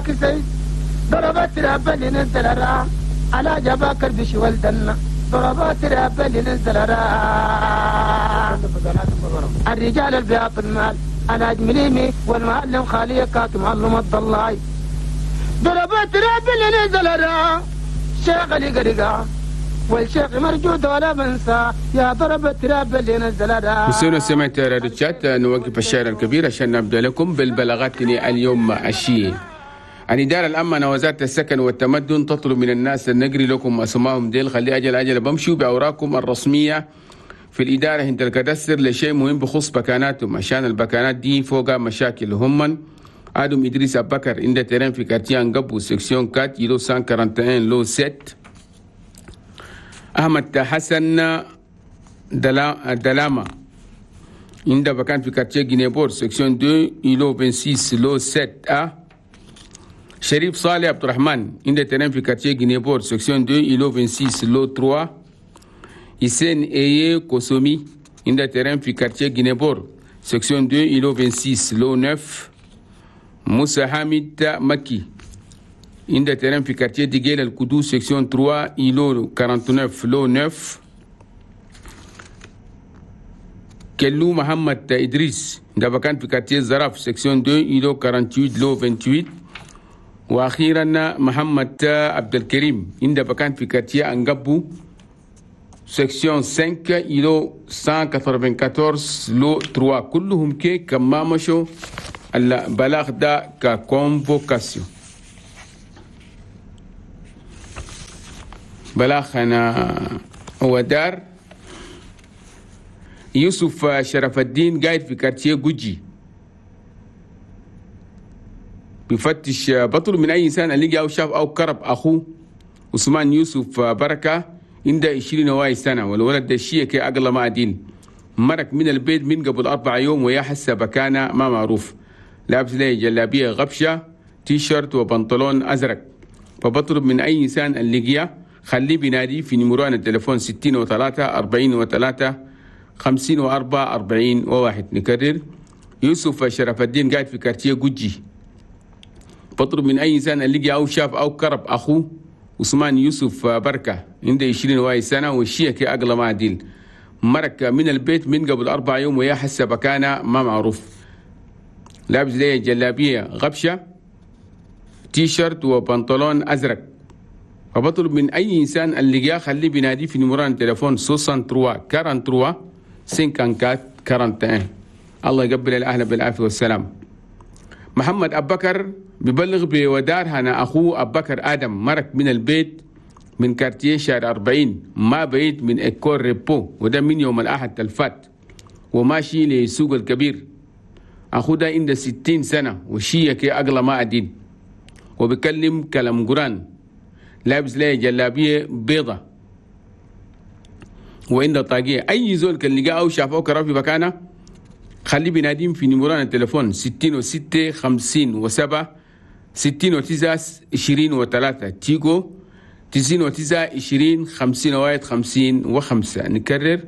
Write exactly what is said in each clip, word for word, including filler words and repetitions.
كسي ضربت رب اللي نزل را على جباكر بش ولدنا ضربات رب اللي نزل را الرجال البياض المال على جمليمي والمعلم خالي كاك معلم الضلاي ضربات رب اللي نزل را شيخ اللي قرقا والشيخ مرجود ولا بنسى يا ضربة رب اللي نزل را. مستمعينا سمعت راديو تشات، نوقف الشعر الكبير عشان نبدا لكم بالبلاغات اليوم الشيء. الإدارة الأمنة وزارة السكن والتمدن تطلب من الناس أن نقري لكم أسمائهم ديل، خلي أجل أجل بمشوا بأوراقكم الرسمية في الإدارة عند الكدستر لشيء مهم بخصوص بكاناتهم، عشان البكانات دي فوق مشاكل. هم آدم إدريس أبكر عند terrain في quartier أنقبو section quatre îlot مية وواحد وأربعين lot سبعة. أحمد حسن دلاما عند بكان في quartier جينيبور section اثنين îlot ستة وعشرين lot سبعة أ. شريف صالح عبد الرحمن عند terrain في quartier جينيبور section اثنين îlot ستة وعشرين lot ثلاثة. حسين إيه كوسومي عند terrain في quartier جينيبور section اثنين îlot ستة وعشرين lot تسعة. موسى حامد مكي عند terrain في quartier ديجيل الكدو section ثلاثة îlot تسعة وأربعين lot تسعة. كلو محمد إدريس عند بكان في quartier زراف section اثنين îlot ثمانية وأربعين lot ثمانية وعشرين. واخيرا محمد عبد الكريم عند بكان في quartier انقبو section خمسة îlot مية وأربعة وثمانين lot ثلاثة. كلهم كي كما مشوا البلاغ ده ك convocation. بلاغ انا هو دار يوسف شرف الدين قاعد في quartier جوجي بيفتش بطل من اي انسان اللي او شاف او كرب اخوه عثمان يوسف بركه عنده عشرين واي سنه، والولد ده الشيء كي اقل ما دين مرق من البيت من قبل اربع يوم ويا حسه بكانه ما معروف، لابس ليه جلابيه غبشه تيشيرت وبنطلون ازرق. فبطلب من اي انسان اللي جيا خليه بينادي في نمران التليفون ستين وثلاثة أربعين وثلاثة خمسين وأربعة أربعين وواحد. نكرر يوسف شرف الدين قاعد في quartier جوجي، بطلب من أي إنسان اللي جا أو شاف أو كرب أخوه عثمان يوسف بركة عنده عشرين واي سنة والشيء كي أقل ما ديل مرك من البيت من قبل أربع يوم ويا حس بكانة ما معروف، لابس ليه جلابية غبشة تيشيرت وبنطلون أزرق. فبطلب من أي إنسان اللي جا خليه بينادي في نمران تليفون ثلاثة وستين ثلاثة وأربعين خمسة وأربعين. الله يقبل الأهل بالعافية والسلام. محمد أبكر ببلغ بودار هنا أخوه أبكر آدم مرك من البيت من quartier شارع أربعين ما بعيد من école ريبو، وده من يوم الأحد الفات وماشي لسوق الكبير. أخوه ده عنده ستين سنة وشية كي أقل ما أدين وبيكلم كلام قران، لابس ليه جلابية بيضة وعنده طاقية. أي زول كان لقاه أو شافه كرا في مكانه خليه بيناديم في نمران التليفون ستين وستة خمسين وسبعة ستين وتسعة عشرين وثلاثة تيجو تسعين وتسعة عشرين خمسين واحد خمسين وخمسة. نكرر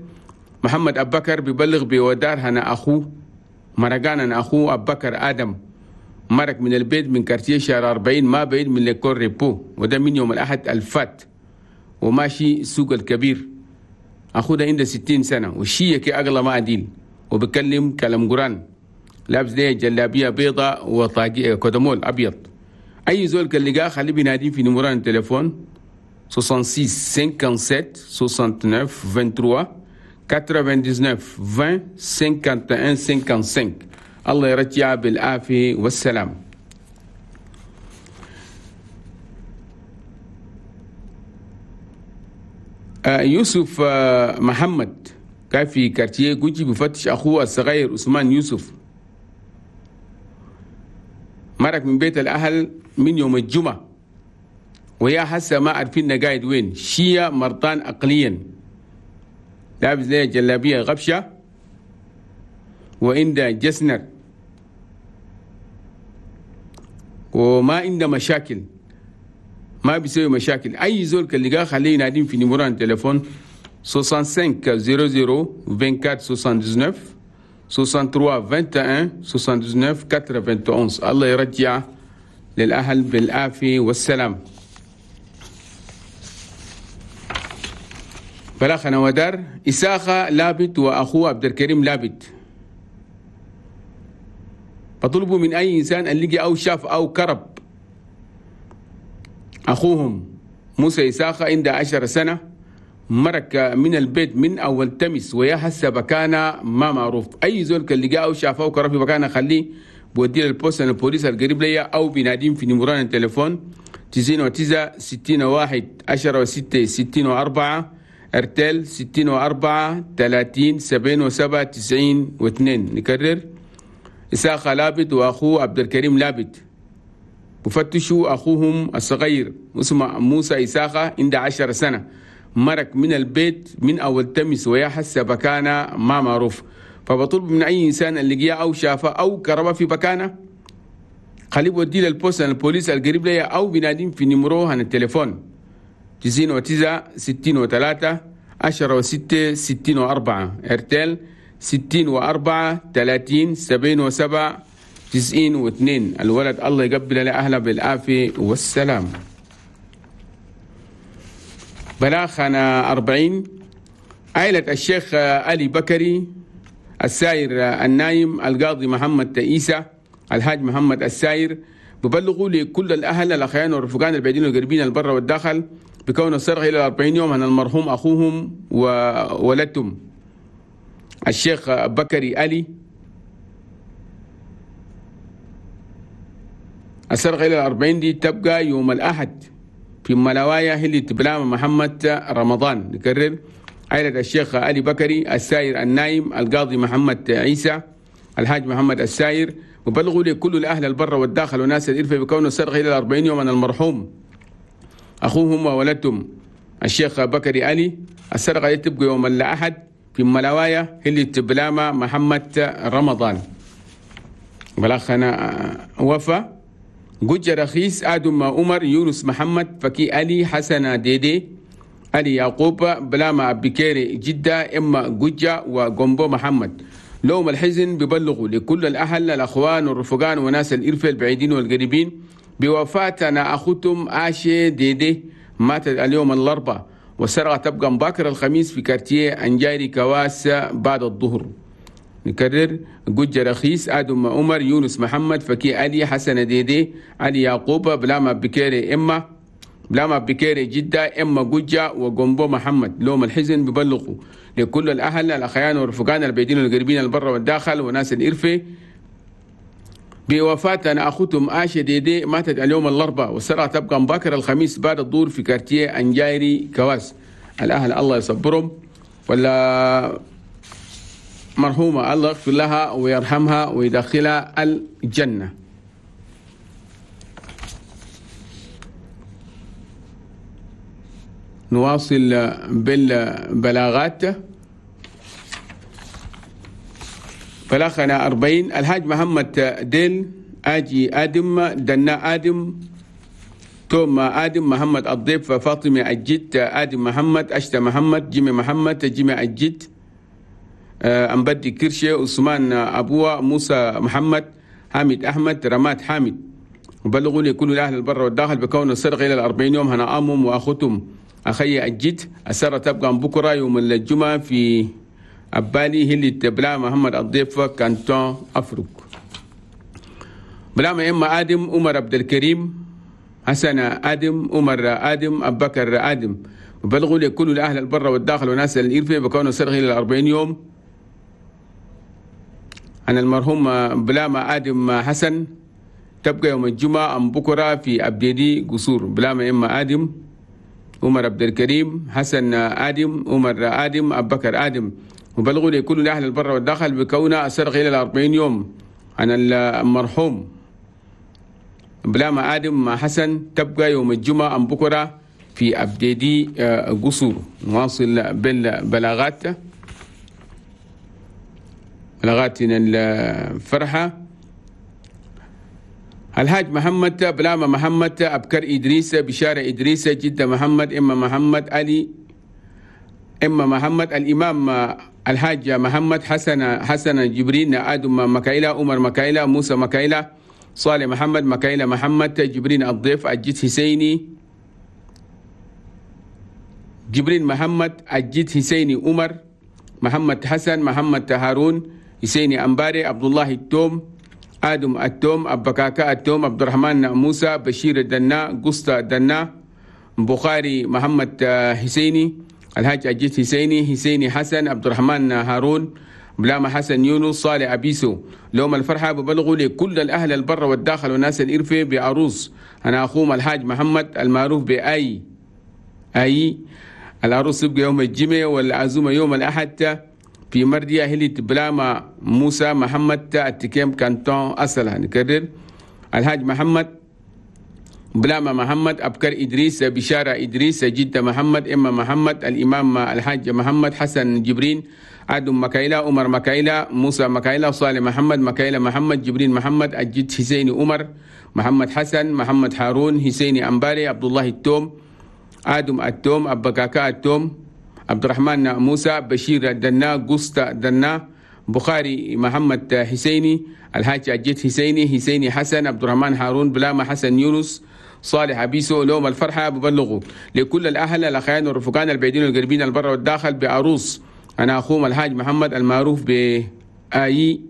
محمد أبكر ببلغ بودار هنا أخوه مرقان أنا أخوه أبكر آدم مرق من البيت من quartier شارع أربعين ما بعيد من l'école ريبو، وده من يوم الأحد الفات وماشي سوق الكبير. أخوه ده عنده ستين سنة والشيء كي أغلى ما أدين وبكلم كلام قران، لابس ليه جلابية بيضة وطاقية كدمول أبيض. أي زول كان لقاه خليه بينادي في نمران التليفون ستة وستين سبعة وخمسين تسعة وثلاثين تسعة وتسعين عشرين واحد وخمسين خمسة وخمسين. الله يرجع بالعافية والسلام. يوسف محمد كان في quartier جوجي بفتش أخوه الصغير عثمان يوسف، مرق من بيت الأهل من يوم الجمعة ويا حسا ما عارفين قاعد وين، شيا مرضان عقليا، لابس ليه جلابية غبشة وعنده جسنر وما عنده مشاكل، ما بيسوي مشاكل. أي زول كان لقاه خليه ينادين في نمران تليفون خمسة وستين صفر صفر أربعة وعشرين تسعة وتسعين ثلاثة وستين واحد وعشرين تسعة وتسعين واحد وثمانين. الله يرجع للأهل بالعافية والسلام. بلاخنا ودار إساخة لابت وأخوه عبد الكريم لابت فطلبوا من أي إنسان أن لقي أو شاف أو كرب أخوهم موسى إساخة عند عشر سنة مرك من البيت من أول تمس ويا هسه بكانة ما معروف. أي زول كان لقاه أو شافه أو كرب في بكانة خليه بوديه للبوست البوليس القريب ليا أو بيناديم في نمران التليفون تسعين وتسعة ستين واحد عشرة وستة ستين وأربعة ارتل ستين وأربعة ثلاثين سبعين وسبعة تسعين واثنين. نكرر إساخة لابد وأخوه عبد الكريم لابد وفتشوا أخوهم الصغير اسمه موسى إساخة عند عشر سنة مرك من البيت من أول تمس ويا حس بكانة ما معروف. فبطلب من أي إنسان اللي جاء أو شافه أو كربه في بكانة خليه بوديه للبوست البوليس القريب ليا أو بناديم في نمروه عن التليفون تسعين وتسعة ستين وثلاثة عشرة وستة ستين وأربعة ارتل ستين وأربعة ثلاثين سبعين وسبعة تسعين واثنين. الولد الله يقبل لأهله بالعافية والسلام. بلاخنا أربعين عائلة الشيخ علي بكري الساير النايم القاضي محمد تئيسة الحاج محمد الساير ببلغوا لكل الأهل الأخيان والرفقان البعيدين والقريبين البر والداخل بكون السرقة إلى أربعين يوم عن المرحوم أخوهم وولدتهم الشيخ بكري علي. السرقة إلى الأربعين دي تبقى يوم الأحد في ملوايا هلي تبلام محمد رمضان. نكرر عائلة الشيخ علي بكري الساير النايم القاضي محمد عيسى الحاج محمد الساير وبلغوا لكل الأهل البر والداخل وناس الإرفة بكون السرقة إلى الأربعين يوم عن المرحوم أخوهم وولدتهم الشيخ بكري علي. السرقة تبقى يوم الأحد في ملوايا هلي تبلام محمد رمضان. بلغنا وفا جوج رخيص آدم عمر يونس محمد فكي علي حسن ديدي علي يعقوب بلاما أبكيري جدة إما جوجة وجومبو محمد. لوم الحزن ببلغوا لكل الأهل الأخوان والرفقان وناس الإرفة البعيدين والقريبين بوفاتنا أخوتهم آشي ديدي ماتت اليوم الأربعاء والسرقة تبقى مباكر الخميس في كارتيه أنجاري كواس بعد الظهر. نكرر جوج رخيص آدم عمر يونس محمد فكي علي حسن ديدي علي يعقوب بلاما بكيري إما بلاما بكيري جدة إما جوجة وجومبو محمد. لوم الحزن ببلغوا لكل الأهل الأخيان والرفقان البعيدين والقريبين البر والداخل وناس الإرفة بوفاة أنا أخوتهم آشا ديدي ماتت اليوم الأربعاء والسرعة تبقى مباكر الخميس بعد الظهر في كارتيه أنجايري كواس. الأهل الله يصبرهم ولا مرحومة الله يغفر لها ويرحمها ويدخلها الجنة. نواصل بالبلاغات. بلاغنا أربعين الحاج محمد ديل آجي آدم دنا آدم توم آدم محمد الضيف فاطمة الجد آدم محمد أشتا محمد جيمي محمد جيمي الجد أمبدي كرشي عثمان أبوه موسى محمد حامد أحمد رماد حامد. وبلغوا لكل الأهل البر والداخل بكون السرقة إلى الأربعين يوم هنا أمهم وأخوتهم أخي الجد. السرقة تبقى بكرة يوم الجمعة في أبالي هلي تبلا محمد الضيف كانتون أفريق. بلا ما إما آدم عمر عبد الكريم حسن آدم عمر آدم أبو بكر آدم. وبلغوا لكل الأهل البر والداخل وناس الإرفة بكون السرقة إلى الأربعين يوم عن المرحوم بلاما آدم حسن تبقى يوم الجمعة أم بكرة في أبديدي قصور. بلاما إما آدم عمر عبد الكريم حسن آدم عمر آدم أبو بكر آدم. وبلغوا لكل الأهل البر والداخل بكون السرقة إلى الأربعين يوم عن المرحوم بلاما آدم حسن تبقى يوم الجمعة أم بكرة في أبديدي قصور. نواصل بالبلاغات. بلاغاتنا الفرحة الحاج محمد بلاما محمد أبكر إدريس بشارة إدريس جدة محمد إما محمد علي إما محمد الإمام الحاج محمد حسن حسن جبرين آدم مكايلة عمر مكايلة موسى مكايلة صالح محمد، مكايلة محمد، جبرين الضيف، الجد حسيني جبرين محمد، الجد حسيني عمر، محمد حسن، محمد هارون، حسيني أمباري، عبد الله التوم، آدم التوم، أبكاكا التوم، عبد الرحمن موسى، بشير الدنا، قسطى الدنا، بخاري محمد حسيني، الحاج أجيت حسيني، حسيني حسن، عبد الرحمن هارون، بلاما حسن يونس، صالح أبيسو. لهم الفرحة ببلغوا لكل الأهل البر والداخل والناس الإرفة بعروس أنا أخوهم الحاج محمد المعروف بأي أي. العروس يبقى يوم الجمعة والعزومة يوم الأحد في مردية هلت بلاما موسى محمد التكيم كانتون أصلا. نكرر الحاج محمد بلاما محمد، أبكر إدريس، بشارة إدريس، جدة محمد، إما محمد، الإمام الحاج محمد، حسن جبرين، آدم مكايلة، عمر مكايلة، موسى مكايلة، صالح محمد، مكايلة محمد، جبرين محمد، الجد حسين عمر، محمد حسن، محمد هارون، حسين أمباري، عبد الله التوم، آدم التوم، أبكاكا التوم، عبد الرحمن موسى، بشير الدنا، قسطى الدنا، بخاري محمد حسيني، الحاج الجد حسيني، حسيني حسن، عبد الرحمن هارون، بلاما حسن يونس، صالح أبيسو. لهم الفرحة ببلغوا لكل الأهل الأخيان والرفقان البعيدين والقريبين البر والداخل بعروس أنا أخوهم الحاج محمد المعروف بآي.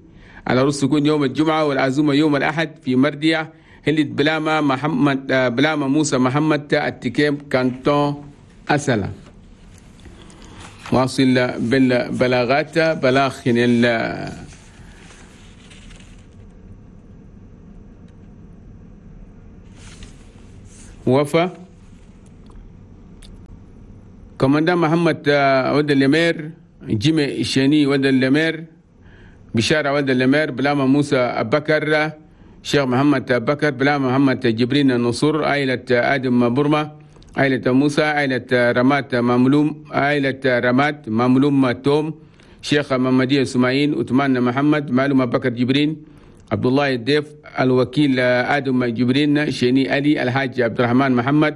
العروس تكون يوم الجمعة والعزومة يوم الأحد في مردية هلت بلاما محمد بلاما موسى محمد التكيم كانتون أسلا. واصل بالبلاغات بلاغ ال وفا كوماندان محمد ود اللمير، جيمي الشاني ود اللمير، بشارة ود اللمير، بلاما موسى أبكر، شيخ محمد بكر، بلاما محمد جبرين النصور، عائلة آدم برما، عائلة موسى، عائلة رمات مملوم، عائلة رمات مملوم توم، شيخ محمدية سماعين، عثمان محمد، معلوم بكر جبرين، عبد الله الديف، الوكيل آدم جبرين، شيني علي، الحاج عبد الرحمن محمد،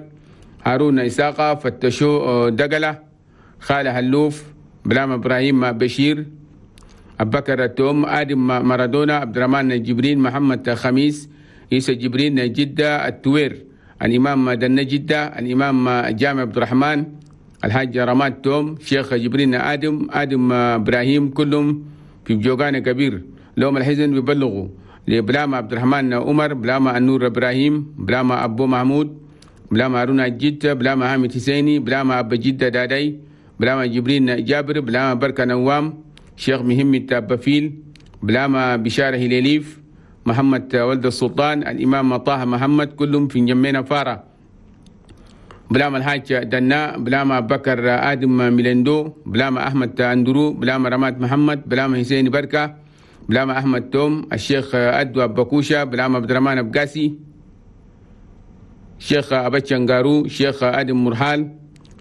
هارون إساقة، فتشو دقلة، خالة هلوف، بلام إبراهيم بشير، أبكر التوم، آدم مارادونا، عبد الرحمن جبرين، محمد خميس، عيسى جبرين جدة التوير، الإمام دنا جدة، الإمام جامع عبد الرحمن، الحاج رماد توم، شيخ جبرين آدم، آدم إبراهيم، كلهم في بجوغان كبير. لهم الحزن بيبلغوا لبلاما عبد الرحمن عمر، بلاما النور إبراهيم، بلاما أبو محمود، بلاما هارون الجد، بلاما حامد حسيني، بلاما أبو جدة دادي، بلاما جبرين جابر، بلاما بركة نوام، شيخ مهمة بفيل، بلاما بشارة هليليف، محمد ولد السلطان، الإمام طه محمد، كلهم في جمينا فارة. بلاما الحاج دنا، بلاما بكر آدم ميلندو، بلاما أحمد أندرو، بلاما رماد محمد، بلاما حسين بركة، بلاما أحمد توم، الشيخ أدوى بكوشة، بلاما عبد الرحمن أبقاسي، شيخ أبتشنغارو، شيخ آدم مرحال،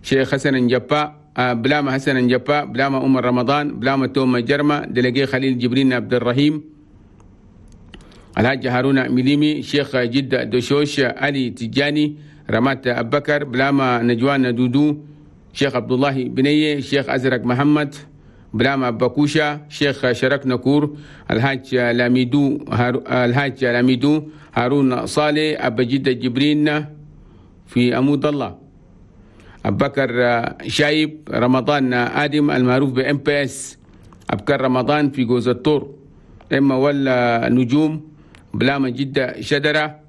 شيخ حسن جبا، بلاما حسن جبا، بلاما عمر رمضان، بلاما توم جرمة، دلقي خليل جبرين عبد الرحيم، الحاج هارون مليمي، شيخ جدة دشوش، علي تجاني، رمات أبكر، بلاما نجوان دودو، شيخ عبد الله بنية، شيخ أزرق محمد، بلاما بكوشة، شيخ شرك نكور، الحاج لاميدو هار... الحاج لاميدو، هارون صالح، أبا جدة جبرين في أمود الله، أبكر شايب، رمضان آدم المعروف ب إم بي إس، أبكر رمضان في جوز الطور، إما ولا نجوم، بلاما جدة شدرة،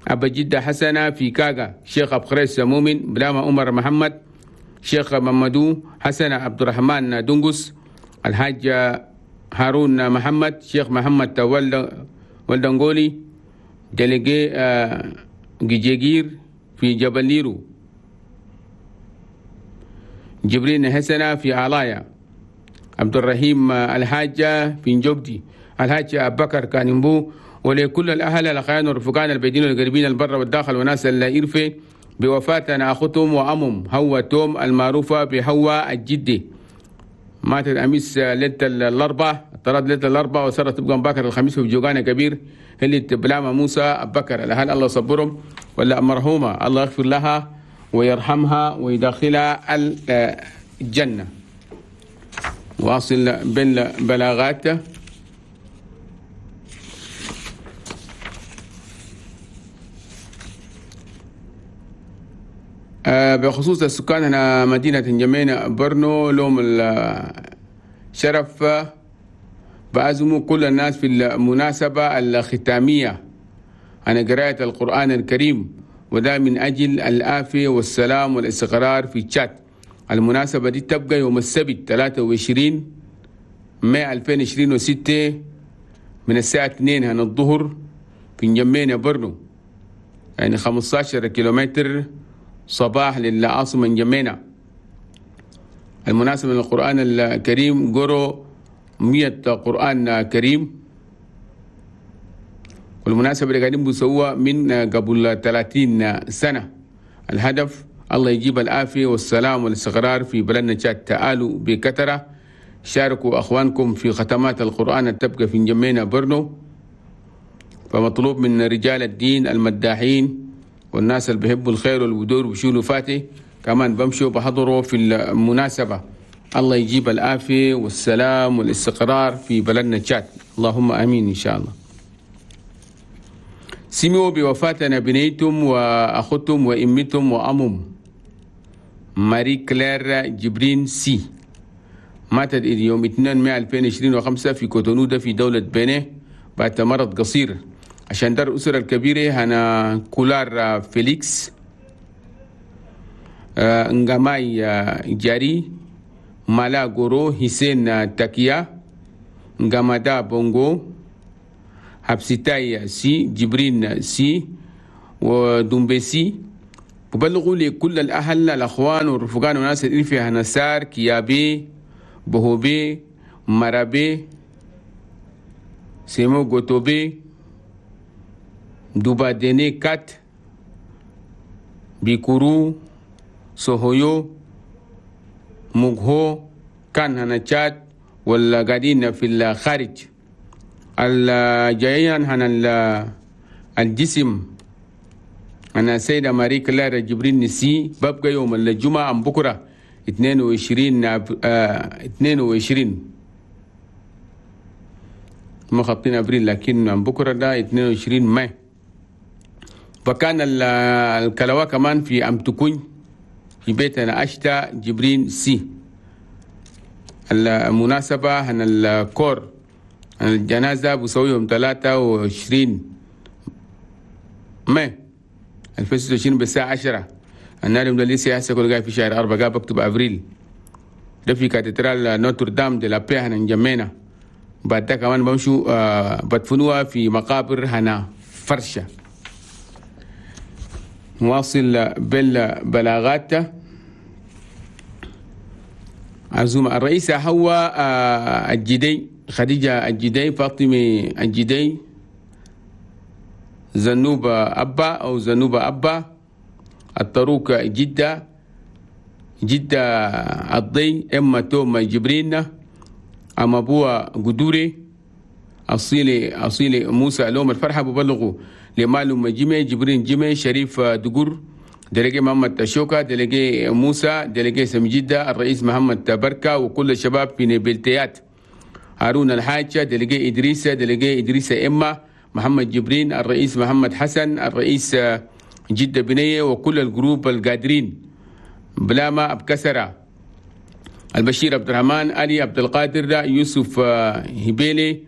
أبا جدة حسنة في كاغا، شيخ أبخريس مؤمن، بلاما عمر محمد، شيخ ممدو حسن عبد الرحمن دنقس، الحاج هارون محمد، شيخ محمد ولدنغولي، دلقي جيجير في جبل ليرو، جبرين حسنة في علايا، عبد الرحيم الحاجة في نجوبدي، الحاج أبكر كانمبو. ولكل الأهل الأخيان والرفقان البعيدين والقريبين البر والداخل وناس الإرفة بوفاة أختهم وأمهم هو توم المعروفة بهوا الجدي، ماتت أمس ليلة الأربعاء، طرد ليلة الأربعاء وصارت تبقى باكر الخميس في جوغانا كبير، اللي بلاما موسى أبكر. الأهل الله صبرهم، ولا مرحومة الله يغفر لها ويرحمها ويدخلها الجنة. واصل بالبلاغات. بخصوص السكان هنا مدينة جمينة برنو لوم الشرف بعزموا كل الناس في المناسبة الختامية عن قراءة القرآن الكريم، وده من أجل العافية والسلام والاستقرار في تشاد. المناسبة دي تبقى يوم السبت ثلاثة وعشرين مايو ألفين وعشرين وستة من الساعة اثنين هنا الظهر في جمينة برنو، يعني خمسة عشر كيلومتر صباح للعاصمة جمينة. المناسبة للقرآن الكريم قروا مية قرآن كريم، والمناسبة اللي قاعدين بيسووها من قبل ثلاثين سنة. الهدف الله يجيب العافية والسلام والاستقرار في بلدنا تشاد. تعالوا بكثرة، شاركوا أخوانكم في ختمات القرآن تبقى في جمينة برنو. فمطلوب من رجال الدين المداحين والناس اللي بيحبوا الخير والودور وبيشيلوا فاتي كمان بمشوا بحضروا في المناسبة. الله يجيب العافية والسلام والاستقرار في بلدنا تشاد، اللهم آمين إن شاء الله. سمعوا بوفاتنا بنيتم وأختم وإمتم وأمم ماري كلير جبرين سي، ماتت يوم اثنين مايو ألفين وعشرين وخمسة في كوتونودا في دولة بنين بعد مرض قصير. عشان دار الأسرة الكبيرة هنا كولار فيليكس نغاماي جاري مالا غورو حسين تاكيا نغامادا بونغو حبسيتاي سي جبرين سي ودومبيسي. وبلغوا لكل الأهل الأخوان والرفقان والناس اللي فيها نسار كيابي بهوبي مرابي سيمو غوتوبي دوبا ديني كات بيكورو سوهويو موغهو كان هنا تشاد ولا قاعدين في الخارج. الجايين هنا الجسم أنا سيدة ماري كلارا جبرين نسي ببقى يوم الجمعة أم بكرة اثنين وعشرين اثنين وعشرين ما خطين أبريل، لكن أم بكرة ده اثنين وعشرين مايو. فكان الكلوة كمان في أم تكون في بيتنا أشتا جبرين سي. المناسبة هنا الكور الجنازة بسوي يوم ثلاثة وعشرين مايو ألفين وستة وعشرين بالساعة عشرة. النار يوم لسه هسه كل جاي في شهر أربعة جاب بكتب أبريل ده في كاتدرال نوتردام دي لا بي هنا نجمينا. بعد ده كمان بمشوا آه بدفنوها في مقابر هنا فرشة. نواصل بالبلاغات. عزومة الرئيسة هو آه الجدي خديجة الجدي فاطمة الجدي زنوبة أبا أو زنوبة أبا الطروق جدة جدة الضي إما توم جبرين أما أبوها قدوري أصيلي أصيلي موسى لوم الفرحة ببلغوا لمالو جيمي جبرين جيمي شريف دقور دلقي محمد شوكا دلقي موسى دلقي سمجدة الرئيس محمد بركة وكل الشباب في نبلتيات هارون الحاجة دلقي إدريس دلقي إدريس إما محمد جبرين الرئيس محمد حسن الرئيس جدة بنية وكل الجروب القادرين بلاما أبكسرة البشير عبد الرحمن علي عبد القادر يوسف هبيلي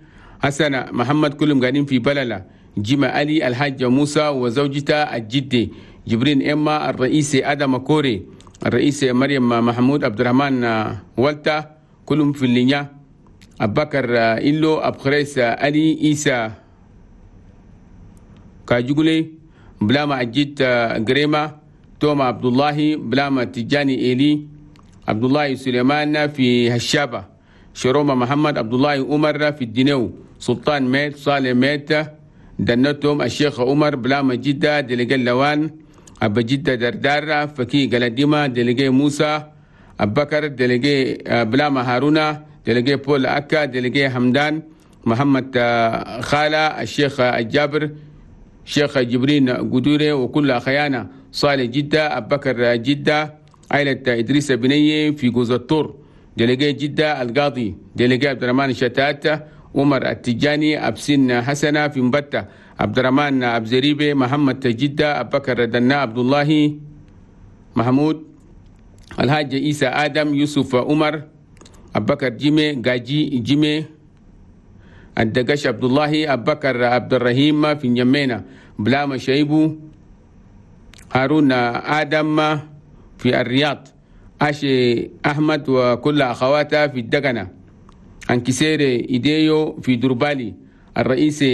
حسن محمد كلهم قاعدين في بللة جيما علي الحاج موسى وزوجته الجدي جبرين إما الرئيس آدم كوري الرئيس مريم محمود عبد الرحمن والتا كلهم في اللينيا أبكر إلو أبخريس علي إيسا كاجولي بلاما أجيت غريما توما عبد الله بلاما تجاني إيلي عبد الله سليمان في هشابة شروما محمد عبد الله عمر في الدينو سلطان ميت صالح ميت دنتهم الشيخ عمر بلاما جدة دلقي اللوان أبا جدة دردار فكي قلديما دلقي موسى أبكر دلقي بلاما هارونا دلقي بول أكا دلقي حمدان محمد خالة الشيخ الجابر شيخ جبرين قدوري وكل أخيانا صالح جدة أبكر جدة عائلة إدريس بنية في جوز الطور دلقي جدة القاضي دلقي عبد الرحمن شتات عمر التجاني أبسن حسنة في مبتة عبد الرحمن أبزريبي محمد جدة أبكر دنا عبد الله محمود، الحاج عيسى آدم، يوسف عمر، أبكر جيمي، جاجي جيمي، الدقش عبد الله، أبكر عبد الرحيم في نجمينا، بلاما شيبو، هارون آدم في الرياض، أشي أحمد وكل أخواته في الدقنة، أنكسير إيديو في دربالي، الرئيس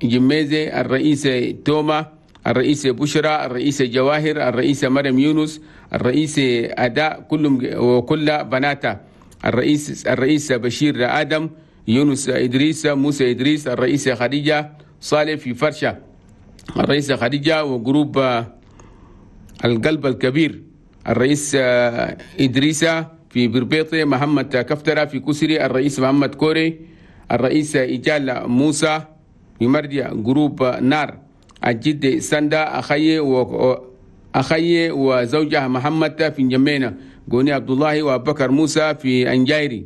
جميزي، الرئيس توما، الرئيس بشرى، الرئيس جواهر، الرئيس مريم يونس، الرئيس أداء، كلهم وكل بناته، الرئيس الرئيس بشير آدم، يونس إدريس، موسى إدريس، الرئيس خديجة صالح في فرشة، الرئيس خديجة وجروب القلب الكبير، الرئيس إدريس في بربيطي، محمد كفترة في كسري، الرئيس محمد كوري، الرئيس إجال موسى في مرديا، جروب نار، الجد سندا أخي و أخي وزوجها محمد في نجمينا، جوني عبد الله وأبكر موسى في أنجايري،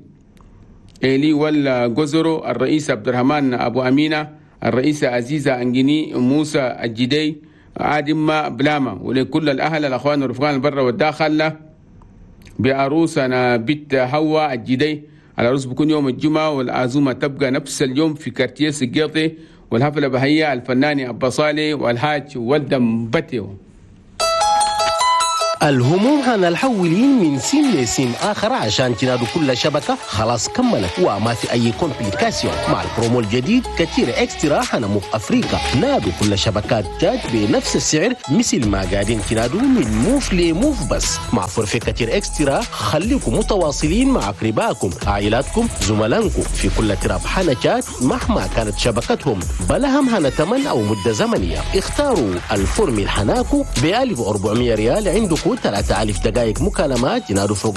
إيلي والجزرو، الرئيس عبد الرحمن أبو أمينة، الرئيس عزيزة أنجيني، موسى الجدي، عادم بلاما، ولكل الأهل الأخوان والرفقان البر والداخل بعروسنا بنت حواء الجدي. العروس بكون يوم الجمعة والعزومة تبقى نفس اليوم في كارتيه سجيطي، والحفلة بهية الفنان أبا صالح والحاج ولدم بتيو. الهموم هنالحولين من سيم لسيم آخر عشان تنادوا كل شبكة خلاص كملت وما في أي complication. مع البرومو الجديد كتير extra هنا موف أفريقيا، نادوا كل شبكات تاج بنفس السعر مثل ما قاعدين تنادوا من موف لموف، بس مع forfait كتير extra خليكم متواصلين مع أقربائكم، عائلاتكم، زملائكم في كل تراب حنا تشاد مهما كانت شبكتهم، بلا هم هنا تمن أو مدة زمنية. اختاروا ال formule حناكو ب ألف وأربعمية ريال، عندكم ثلاثة آلاف دقائق مكالمات ينادوا فوق